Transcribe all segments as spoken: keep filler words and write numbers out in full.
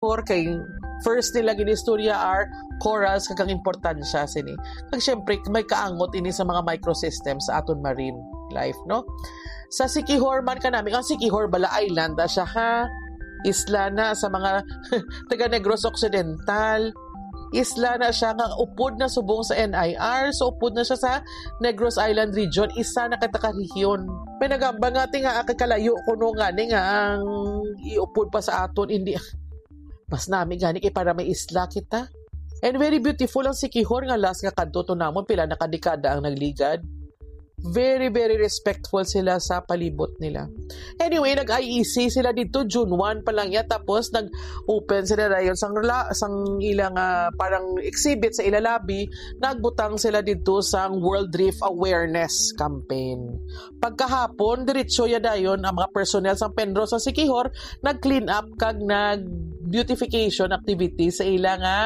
Siquijor kay first nila ginistorya are corals kag ang importansya sini. Kag syempre, may kaangot ini sa mga microsystem sa aton marine life, no? Sa Siquijor man kanami, ang Siquijor bala island na siya, ha? Isla na sa mga taga Negros Occidental. Isla na siya nga upod na subong sa N I R, so upod na siya sa Negros Island region, isa na ka taga rehiyon. May nagamba nga, "Ti nga, kay kalayo kuno nga ni nga ang iupod pa sa aton, hindi." Mas nami gani kay para may isla kita. And very beautiful ang Siquijor nga last nga kadto to namon, pila na ka dekada ang nagligad. Very, very respectful sila sa palibot nila. Anyway, nag-I E C sila dito, June one pa lang ya, tapos nag-open sila dayon sang la-, sang ilang, ah, parang exhibit sa ila lobby, nagbutang sila dito sang World Reef Awareness Campaign. Pagkahapon, diretso ya dayon ang mga personnel sang PENRO sa Siquijor, nag-clean up kag nag-beautification activity sa ila nga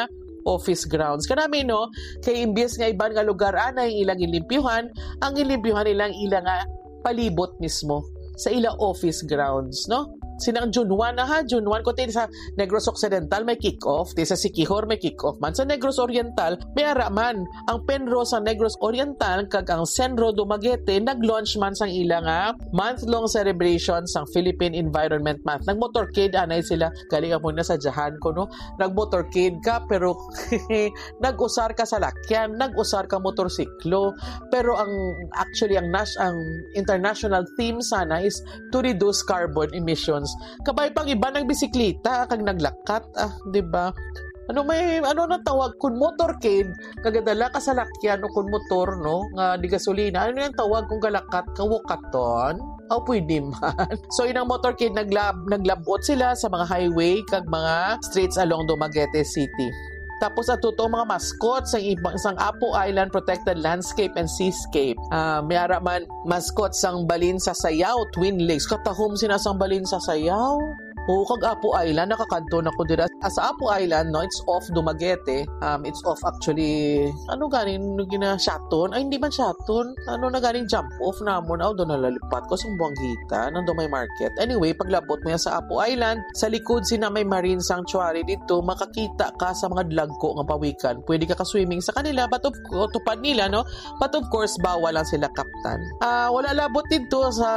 office grounds. Kanami, no, kay imbis nga iban nga lugar anay ilang ilimpyuhan, ang ilimpyuhan nila ang ila nga palibot mismo sa ila office grounds, no? Sinang June one na, ha, June one, kung sa Negros Occidental may kick-off, ti sa Siquijor may kick-off man. Sa Negros Oriental, may ara man. Ang PENRO sa Negros Oriental kag ang CENRO Dumaguete nag-launch man sang ila nga month-long celebration sang Philippine Environment Month. Nag-motorcade anay sila. Galing mo na sa Jahan ko, no? Nag-motorcade ka, pero nag-usar ka salakyan, nag-usar ka motorsiklo. Pero ang, actually, ang nas-, ang international theme sana is to reduce carbon emissions. Kabay pang iba nagbisikleta kag naglakat, ah, di ba? Ano may, ano na tawag kun motorcade, kagadala ka salakyan o kun motor, no, nga di gasolina, ano yung tawag kung galakat ka, wakaton? Aw, pwede man. So, inang motorcade, naglab-, naglabot sila sa mga highway kag mga streets along Dumaguete City. Tapos, ato to mga mascot sang ibang, sang Apo Island Protected Landscape and Seascape. Ah, may ara man mascot sang Balin sa Sayaw, Twin Lakes. Katahom sina sang Balin sa Sayaw. Oo, kag Apo Island, nakakadto na ko dira. Ah, sa Apo Island, no, it's off Dumaguete. Um, it's off actually, ano ganin, no, gina, Shaton? Ay, hindi man Shaton. Ano na ganin jump off namon? Aw, doon nalalipat ko sa Buanggita, nang doon may market. Anyway, paglabot mo yan sa Apo Island, sa likod sina may Marine Sanctuary dito, makakita ka sa mga dlagko nga pawikan. Pwede ka ka-swimming sa kanila, but of, o, tupad nila, no? But of course, bawal lang sila kaptan. Ah, wala labot dito sa,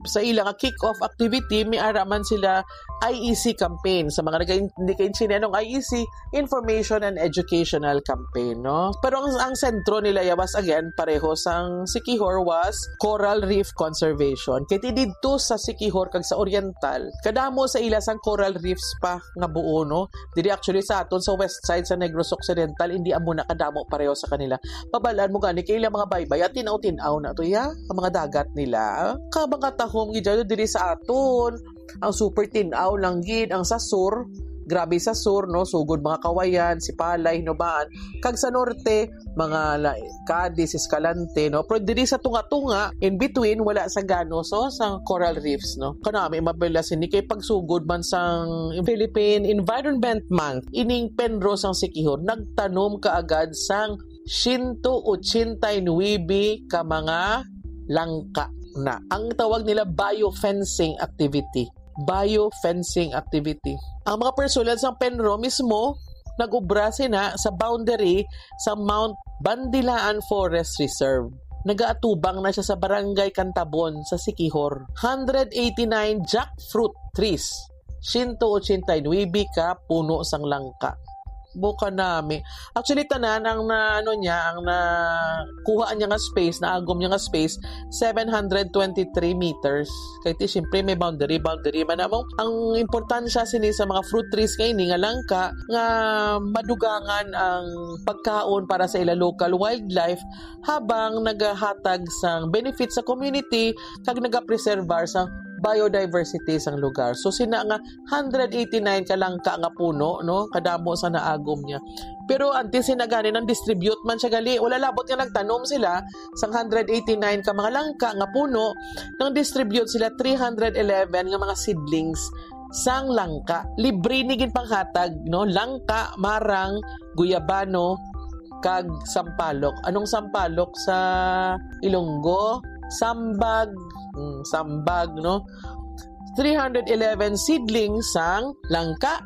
sa ila nga kick-off activity, may ara man sila I E C campaign. Sa mga nagka-, hindi kaintindihan ng I E C, information and educational campaign, no? Pero ang, ang sentro nila yawas again, pareho sang Siquijor, was coral reef conservation. Kay ti didto sa Siquijor kag sa Oriental, kadamo sa ila sang coral reefs pa nga buo, no? Diri actually sa aton sa west side sa Negros Occidental, hindi amo na kadamo pareho sa kanila. Pabalaan mo gani kay ilang mga baybay at tinaw-tinaw na to, ya, ang mga dagat nila. Ka mga tahom gid dyan diri sa aton. Ang super tinaw lang gid ang sa sur, grabe sa sur, no, sugod mga Kawayan, Sipalay, Hinubaan, kag sa norte, mga la-, Cadiz, Escalante, no. Pero diri sa tunga-tunga, in between, wala sa gano, so sa coral reefs, no. Kanami mabela sini kay pagsugod man sang Philippine Environment Month, ining PENRO sang Siquijor nagtanom kaagad sang siyento ochenta y nuebe ka mga langka na. Ang tawag nila biofencing activity. Biofencing activity. Ang mga personnel sang PENRO mismo nag-ubra sina sa boundary sa Mount Bandilaan Forest Reserve. Nagaatubang na siya sa Barangay Cantabon sa Siquijor. Hundred eighty-nine jackfruit trees. Siyento ochenta y nuebe ka puno sang langka. Buka nami. Actually, tanan ang na, ano niya, ang na kuha niya nga space, naagom niya nga space, seven hundred twenty-three meters. Kay ti, siyempre, may boundary, boundary man namang. Ang importansya sini sa mga fruit trees nga ini nga langka, nga madugangan ang pagkaon para sa ila local wildlife, habang nagahatag sang benefit sa community kag nagapreserbar sang biodiversity sang lugar. So, sina nga hundred eighty-nine ka langka nga puno, no? Kadamo sa naagom niya. Pero antes sina gani nang distribute man siya gali, wala labot nga nagtanom sila sang hundred eighty-nine ka mga langka nga puno, nang distribute sila three hundred eleven nga mga seedlings sang langka. Libre ni ginpanghatag, no? Langka, marang, guyabano, kag sampalok. Anong sampalok sa Ilonggo? Sambag. Mm, sambag, no? Three hundred eleven seedlings sang langka.